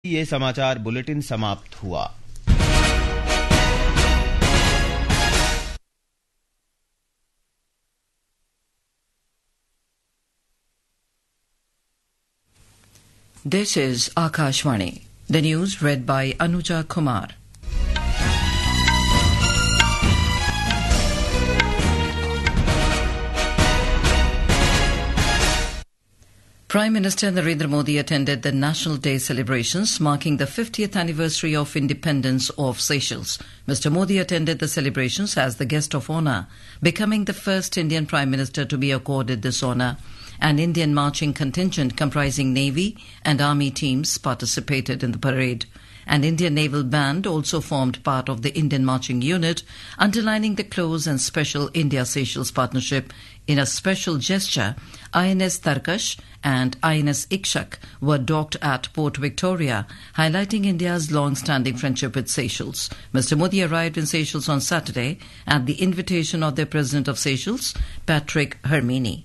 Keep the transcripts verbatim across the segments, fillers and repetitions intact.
ये समाचार बुलेटिन समाप्त हुआ। This is Akashvani. The news read by Anuja Kumar. Prime Minister Narendra Modi attended the National Day celebrations marking the fiftieth anniversary of independence of Seychelles. Mister Modi attended the celebrations as the guest of honour, becoming the first Indian Prime Minister to be accorded this honour. An Indian marching contingent comprising Navy and Army teams participated in the parade. An Indian naval band also formed part of the Indian marching unit, underlining the close and special India-Seychelles partnership. In a special gesture, I N S Tarkash and I N S Ikshak were docked at Port Victoria, highlighting India's long-standing friendship with Seychelles. Mister Modi arrived in Seychelles on Saturday at the invitation of the President of Seychelles, Patrick Herminie.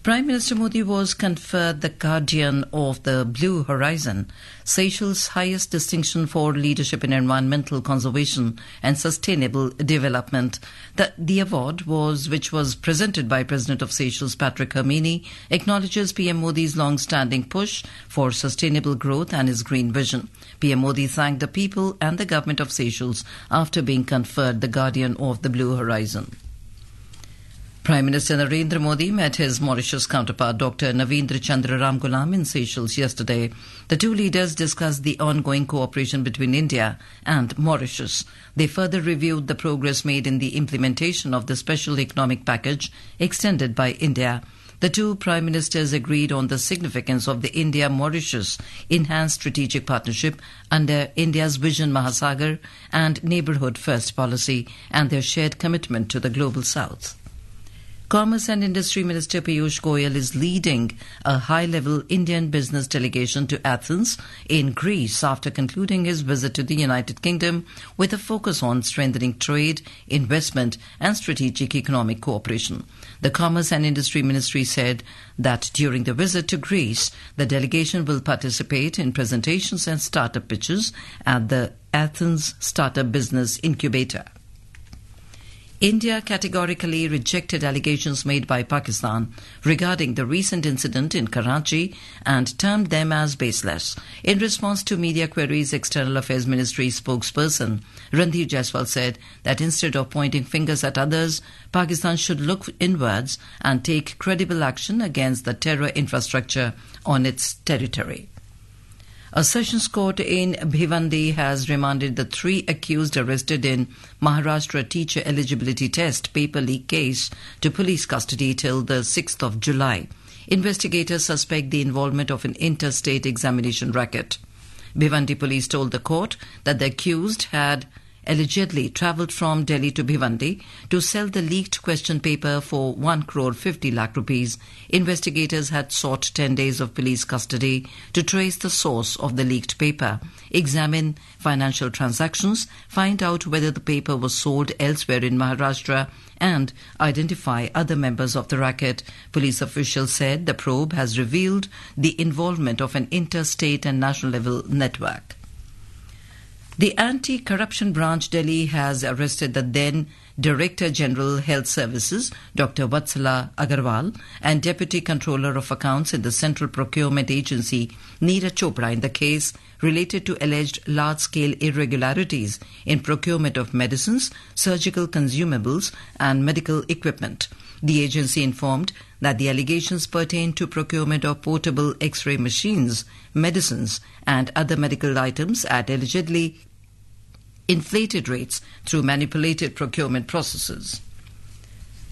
Prime Minister Modi was conferred the Guardian of the Blue Horizon, Seychelles' highest distinction for leadership in environmental conservation and sustainable development. The, the award was, which was presented by President of Seychelles, Patrick Herminie, acknowledges P M Modi's long-standing push for sustainable growth and his green vision. P M Modi thanked the people and the government of Seychelles after being conferred the Guardian of the Blue Horizon. Prime Minister Narendra Modi met his Mauritius counterpart, Doctor Navindra Chandra Ramgoolam, in Seychelles yesterday. The two leaders discussed the ongoing cooperation between India and Mauritius. They further reviewed the progress made in the implementation of the special economic package extended by India. The two prime ministers agreed on the significance of the India-Mauritius enhanced strategic partnership under India's Vision Mahasagar and Neighbourhood First policy and their shared commitment to the Global South. Commerce and Industry Minister Piyush Goyal is leading a high-level Indian business delegation to Athens in Greece after concluding his visit to the United Kingdom with a focus on strengthening trade, investment and strategic economic cooperation. The Commerce and Industry Ministry said that during the visit to Greece, the delegation will participate in presentations and startup pitches at the Athens Startup Business Incubator. India categorically rejected allegations made by Pakistan regarding the recent incident in Karachi and termed them as baseless. In response to media queries, External Affairs Ministry spokesperson Randhir Jaiswal said that instead of pointing fingers at others, Pakistan should look inwards and take credible action against the terror infrastructure on its territory. A sessions court in Bhiwandi has remanded the three accused arrested in Maharashtra teacher eligibility test paper leak case to police custody till the sixth of July. Investigators suspect the involvement of an interstate examination racket. Bhiwandi police told the court that the accused had allegedly travelled from Delhi to Bhiwandi to sell the leaked question paper for one crore fifty lakh rupees. Investigators had sought ten days of police custody to trace the source of the leaked paper, examine financial transactions, find out whether the paper was sold elsewhere in Maharashtra, and identify other members of the racket. Police officials said the probe has revealed the involvement of an interstate and national level network. The Anti-Corruption Branch Delhi has arrested the then Director General Health Services, Doctor Vatsala Agarwal, and Deputy Controller of Accounts in the Central Procurement Agency, Neeraj Chopra, in the case related to alleged large-scale irregularities in procurement of medicines, surgical consumables, and medical equipment. The agency informed that the allegations pertain to procurement of portable X-ray machines, medicines, and other medical items at allegedly inflated rates through manipulated procurement processes.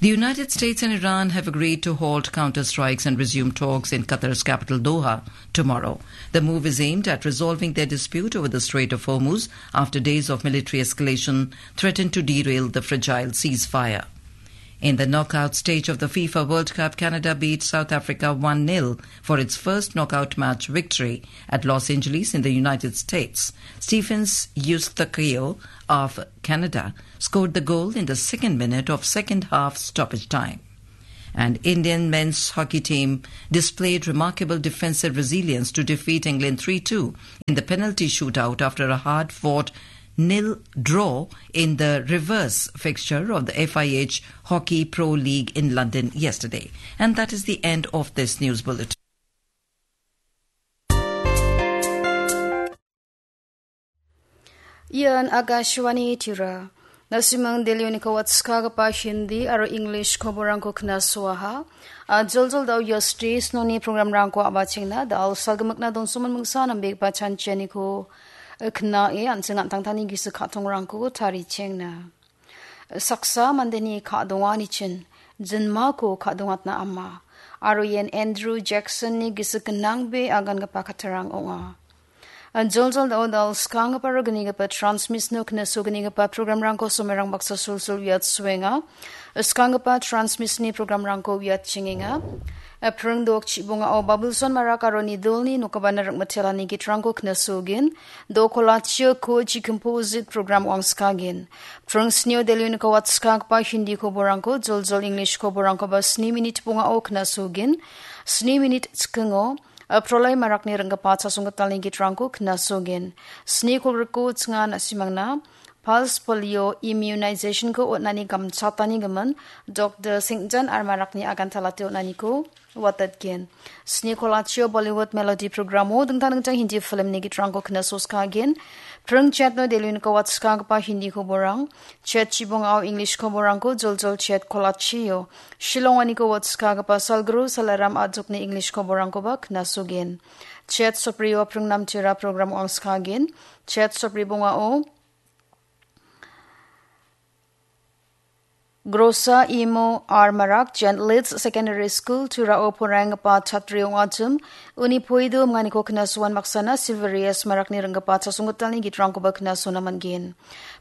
The United States and Iran have agreed to halt counter strikes and resume talks in Qatar's capital Doha tomorrow. The move is aimed at resolving their dispute over the Strait of Hormuz after days of military escalation threatened to derail the fragile ceasefire. In the knockout stage of the FIFA World Cup, Canada beat South Africa one nil for its first knockout match victory at Los Angeles in the United States. Stephens Eustáquio of Canada scored the goal in the second minute of second half stoppage time. And Indian men's hockey team displayed remarkable defensive resilience to defeat England three two in the penalty shootout after a hard-fought nil draw in the reverse fixture of the F I H Hockey Pro League in London yesterday. And that is the end of this news bulletin. Ian Akashvani Tirupur. Na·simang Delhi-oniko watskagipa Hindi aro English koborangko knasuaha. A, joljol da·o ia stage-noni programrangko a·bachengna, da·o salgimikna donsomin mingsa nambegipa chanchianiko, e, knae, an·ching an·tangtangni gisik ka·tongrangko tarichengna. Saksa mandeni ka·donganichin jinmako ka·dongatna ama, aro ian Andrew Jackson-ni gisik gnangbe agangipa kattarang ong·a. Joljol da·o da·o skanggipa aro gnigipa Transmisno knasognigipa programrangko somerang baksa sulsul uiatsuenga. Skanggipa Transmisni programrangko uiatchengenga. Pring dok chibongao Babulson Marak aro Nidolni nokabana ringmitelani gitrangko knasogin. Dokolachio Koji Composite program wangskagin. Pring snio Delhi-oniko watskagpa Hindi koborangko, joljol English koborangkoba sni minit bongao knasogin. Sni minit chikingo, a, Prolai Marakni ringgipa chasonggitalni gitrangko knasogin. Sni kolgriko chinga na·simangna Pulse Polio Immunization-ko on·ani gamchatani gimin Doctor Singjan R Marakni agantalate on·aniko watatgen. Sni kolachio Bollywood Melody programo dingtang dingtang Hindi filmni gitrangko knasoskagin. Pring chetno Delhi-oniko watskagipa Hindi koborang. Chet chibongao English koborangko joljol chet kolachio Shillong-oniko watskagipa Salguru Salaram Ajokni English koborangkoba knasogin. Chet soprio pringnam tira program wangskagin. Chet sopri bongao Grosa Imo R Marak, Jen Leeds Secondary School, Turao poraienggipa chatri ong·achim, uni poido minganiko knasoan maksana Silverius Marakni ringgipa chasonggitalni gitrangkoba knasona man·gen.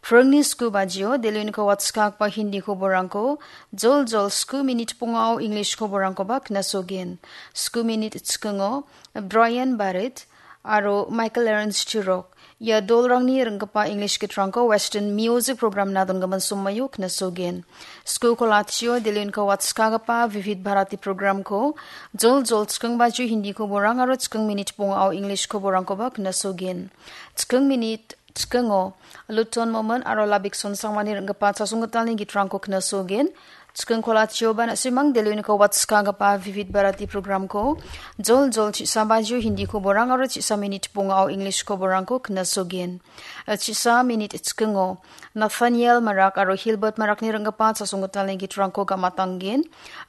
Pringni sku bajio, Delhi-oniko watskagpa Hindi koborangko, joljol sku minit bongao English koborangkoba knasogen. Sku minit chikingo, Brian Barrett aro Michael Lawrence Chirok, ia dolrangni ringgipa English gitrangko Western Music Program-na dongimin somoio knasogen. Sku kolachio Delhi-oniko watskagipa Vivid Bharati program-ko, joljol chiking bajio Hindi koborang aro chiking minit bongao English koborangkoba knasogen. Chiking minit chikingo Luton Momon aro Labikson Sangmani ringgipa chasonggitalni gitrangko knasogen. Chiking kolachioba na·simang Delhi-oniko watskagipa Vivid Bharati program-ko joljol chisa bajio Hindi koborang aro chisa minit bongao English koborangko knasogen. Chisa minit chikingo Nathaniel Marak aro Hilbert Marakni ringgipa chasonggitalni gitrangko gamatanggen.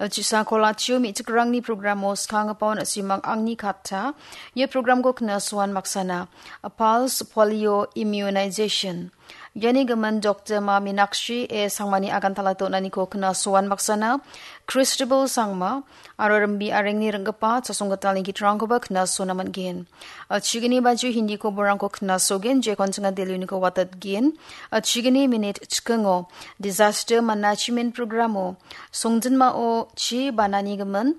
Chisa kolachio me·chikrangni programo skanggipa na·simang angni katta. Ia programko knasoan maksana Pulse Polio Immunization. Iani gimin Doctor Ma Minakshi A Sangmani agantalate on·aniko knasoan maksana Christabel Sangma aro Rimbi Arengni ringgipa chasonggitalni gitrangkoba knasona man·gen. Chigni bajio Hindi koborangko knasogen, jekon chinga Delhi-oniko watatgen. Chigni minit chikingo Disaster Management Programo songjinmao chi banani gimin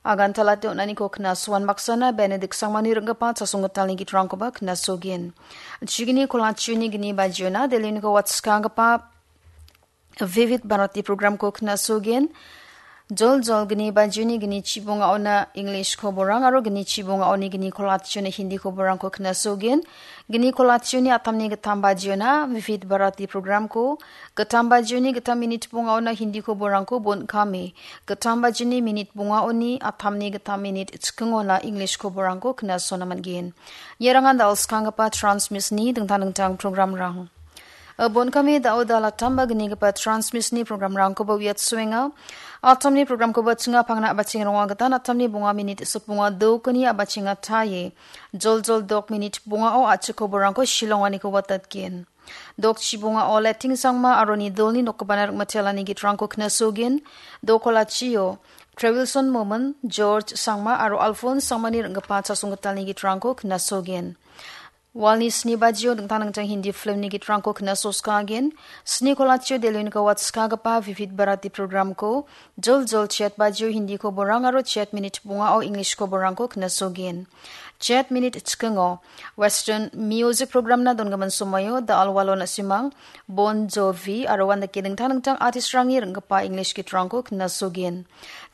agantalate on·aniko knasoan maksana Benedict Sangmani ringgipa chasonggitalni gitrangkoba knasogen. Chigni kolachioni gni bajiona Delhi-oniko watskagipa Vivid Bharati program-ko knasogen. Joljol gni bajioni gni chibongaona English koborang aro gni chibongaoni gni kolachiona Hindi koborangko knasogen. Gni kolachioni atamni gittam bajiona Vivid Bharati program-ko, gittam bajioni gittam minit bongaona Hindi koborangko bon·kame, gittam bajioni minit bongaoni atamni gittam minit chikingona English koborangko knasona man·gen. Iarangan da·o skanggipa Transmisni dingtang dingtang programrang. Bon·kame da·o da latamba gnigipa Transmisni programrangkoba uiatsuenga. Atamni programkoba chinga pangna a·bachenga ronga gita atamni bonga minit sipbonga dokoni a·bachenga taie. Joljol dok minit bongao a·chik koborangko Shillong-oniko watatgen. Dok chibongao Leting Sangma aro Nidolni nokgipana ringmatelani gitrangko knasogin. Dokolachio Trevilson Momon, George Sangma aro Alphonse Sangmani ringgipa chasonggitalni gitrangko knasogin. Walni sni bajio dingtang dingtang Hindi filmni gitrangko knasoskagen. Sni kolachio Delhi-oniko watskagipa Vivid Bharati programko joljol chet bajio Hindi koborang aro chet minit bongao English koborangko knasogen. Chet minit chikingo Western Music Programna dongimin somoio da alwalo na·simang Bon Jovi aro uandake dingtang dingtang artistrangni ringgipa English gitrangko knasogen.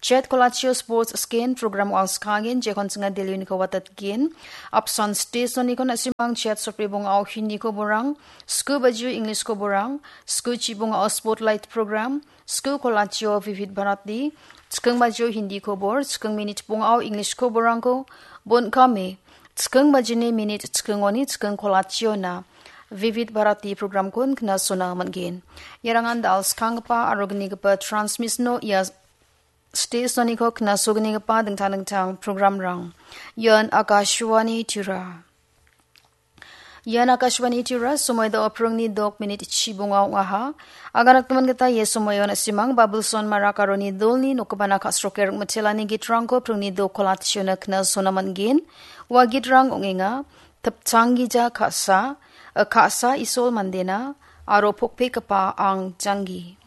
Chet kolachio sports scan program ong·a skagen, jekon singa Delhi uniko watatgen. Apsan station niko nasimang chet sopri bong au Hindi ko borang, sku baju English ko borang, sku chibong au spotlight program, sku kolachio Vivid Bharati, chikung baju Hindi ko bor, chikung minit bong au English ko borang ko, bon kame, chikung bajini minit chikung oni chikung kolachio na. Vivid Bharati program kun kena sona manggen. Yarangan dal skangpa arogni gepa transmission no ia station niko kena sogni gepa dingtang dingtang program rang. Ian Akashvani Tura. Ian Akashvani Tura, somoi da oprongni dok minit chibonga ong·aha. Aganak teman gita ye somoion asimang Babulson Marak aroni dolni nokobana kasroker mitelani gitrangko prongni dok kolationa kena sona manggen. Ua gitrang ong·enga. Tepchang gija ka·sa, eh, ka·sa Isol mandena, aro pokpekgipa ang janggi.